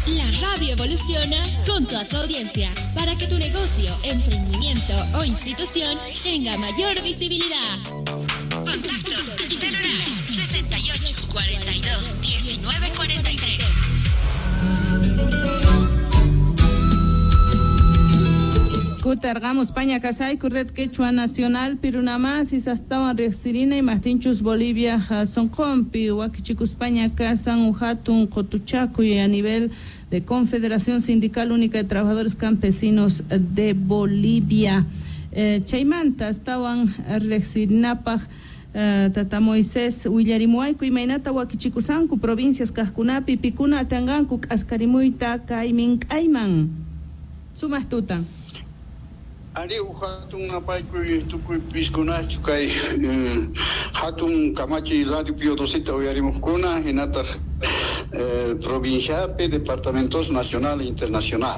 La radio evoluciona junto a su audiencia para que tu negocio, emprendimiento o institución tenga mayor visibilidad. Contactos al celular 68 42 19 43. Kutarqamus Paña kasayku Red Quechua Nacional Pirunamasis astawan riqsirina imaqtinchus Bolivia sonqonpi wakichikuspaña kasan hatun qutuchakuy a nivel de Confederación Sindical Única de Trabajadores Campesinos de Bolivia. Chaymanta astawan riqsirinapaq Tata Moisés willarimuwayku imaynata wakichikusanku provincias kaqkunapi pikuna atanqanku k'askarimuyta kay mink'ayman. Sumaq tuta. Ari hatun napaykuy tukuy piskunachu kay hatun kamachi Radio Pío XII uyarimuqkuna hinataq provinciapi, departamentos nacional e internacional.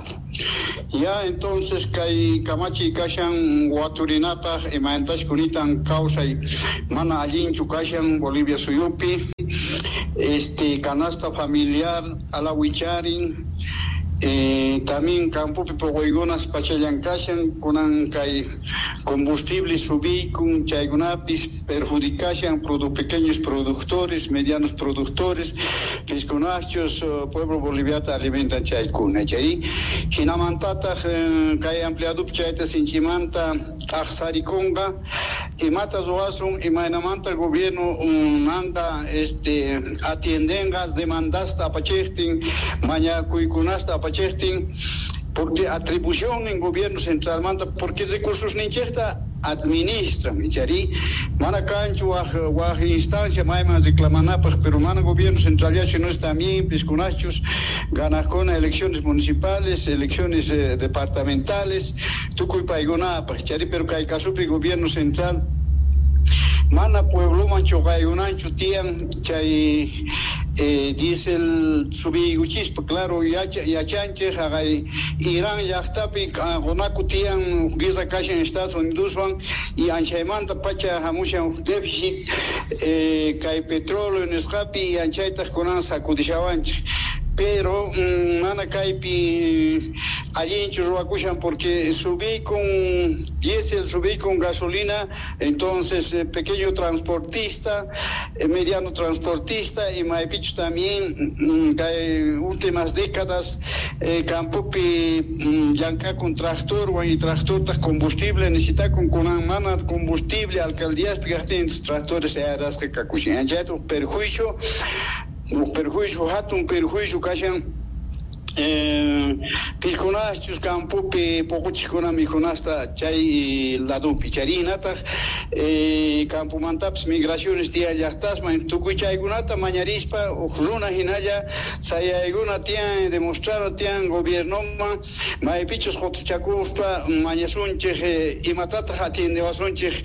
Ya entonces kay kamachi kashan waturinapaq imaynatash kunitan kawsay mana allinchu kashan Bolivia suyupi, canasta familiar alawicharin. También campopi poquykunas pachallan kashan kunan kay combustible subiykun chaykunapis perjudicashan pequeños productores, medianos productores, piskunachos pueblo boliviata alimentan chaykuna chay hinamantataq kay empleadupi chayta sinchimanta t'aqsarikunqa imata ruwasun imaynamanta gobierno manta atiendenqa demandasta apachiqtin mañakuykunasta apachiqtin porque atribución en gobierno central manta porque recursos ninchejta administran chari mana kanchu waj instancia mayman reclamanapaq pero mana gobierno central ya no está bien piskunachos ganajkuna elecciones municipales, elecciones departamentales tukuy paykunapaq chari pero kay kasupi gobierno central mana puebloman chuqaykunanchu tiyan chay diesel subiykuchispa claro yachanchik haqay Irán llaqtapi qunaku tiyan guerra kashan Estados Unidoswan y anchaymanta pacha hamushan déficit kay petróleo nisqapi y anchaytaq kunan sacudishawanchik pero mana kaypi allinchu ruwakushan porque subí con diésel, subí con gasolina, entonces pequeño transportista, mediano transportista y maypichu también kay últimas décadas campopi llank'akun tractor y tractortaq combustible necesitakun kunan mana combustible alcaldíaspi kaqtin tractores arasqa kakushan anchayta perjuicio hatun perjuicio kashan piskunachus campopi poquchiqkuna mikhunasta chay ladupi charinataq campomantapis migraciones tiyan llaqtasman tukuy chaykunata mañarispa huk runa hinalla sayaykuna tiyan demostrana tiyan gobiernoman maypichus qutuchakuspa mañasunchik imatataq atiendewasunchik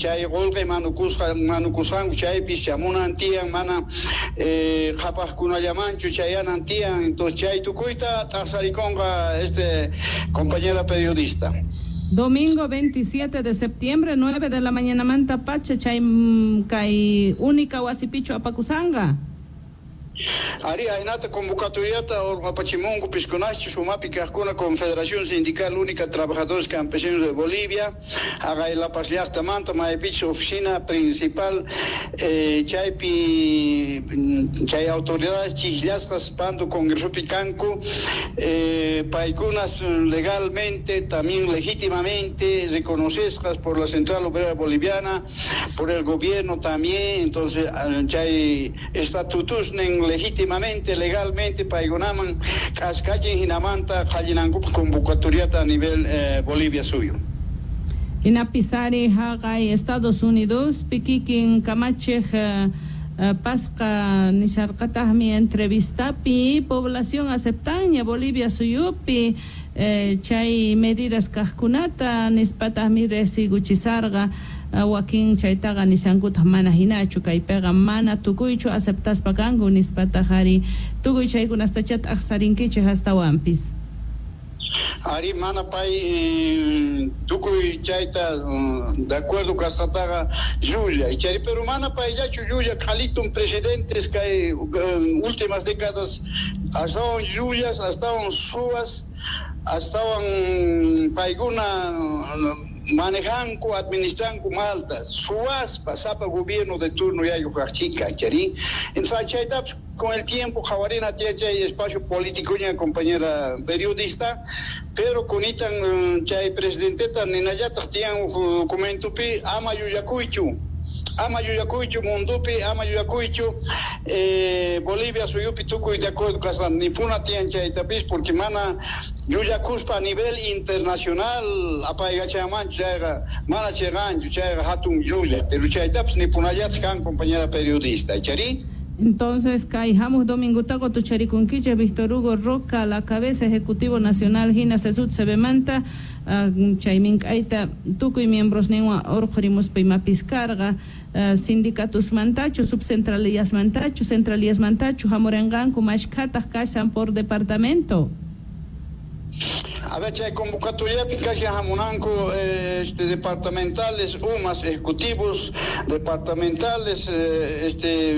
chay qullqi manukusqanku chaypis chamunan tiyan mana qhapaqkunallamanchu chayanan tiyan entonces chay tukuyta t'aqsarikunqa compañera periodista. Domingo 27 de septiembre, 9 de la mañana manta pacha chay kay única wasipichu apakusanqa. Ari aynata convocatoriata urqapachimunku piskunachu sumapi kaqkuna Confederación Sindical Única Trabajadores Campesinos de Bolivia haqay La Paz llaqtamanta maypichu oficina principal chaypi chay autoridades chiqllasqas pando congresopi kanku paykunas legalmente también legítimamente reconocidas por la Central Obrera Boliviana, por el gobierno también, entonces chay estatutusnin legítimamente, legalmente paykunaman k'askachin hinamanta qallinankupaq convocatoriata a nivel Bolivia suyo. Hinapisari haqay Estados Unidos pikikin kamachiq pasqa nisharqataqmi entrevistapi población aceptaña Bolivia suyupi chay medidas kaqkunata nispataqmi riqsiykuchisarqa wakin chaytaqa nishankutaq mana hinachu kaypiqa mana tukuychu aceptaspa kanku nispataq ari tukuy chaykunastachá t'aqsarinkichik astawanpis. Ari mana pay tukuy chayta de acuerdo kasqataqa llulla ichari pero mana payllachu llulla qhalitun presidentes kay últimas décadas Astawan llullas, astawan suwas, astawan paykuna manejanku, administranku malta, suwaspa sapa gobierno de turno yaykuq kaqchika, chari. Entonces chaytapas con el tiempo qhawarina tiyan chay espacio político ña, compañera periodista, pero kunitan chay presidenteta ninallataq tiyan huk documentopi: ama llullakuychu, ama llullakuychu mundupi, ama llullakuychu Bolivia suyupi tukuy de acuerdo kasqan nipuna tiyan chaytapis, porque mana llullakuspa a nivel internacional apaykachanmanchu, chayqa mana chiqanchu, chayqa hatun llulla, pero chaytapas nipunallataq kan, compañera periodista, chari. Entonces, kay hamuq domingo qutucharikunkichik Víctor Hugo Roca a la cabeza, Ejecutivo Nacional hina CSUTCBmanta, chay mink'ayta tukuy miembros ninwan urqhurimuspa imapis karqa, sindicatusmantachu, subcentralillasmantachu, centralillasmantachu hamurinqanku, mashkhataq kashan por departamento? A ver, chay convocatoriapi kashan hamunanku departamentales, umas ejecutivos departamentales.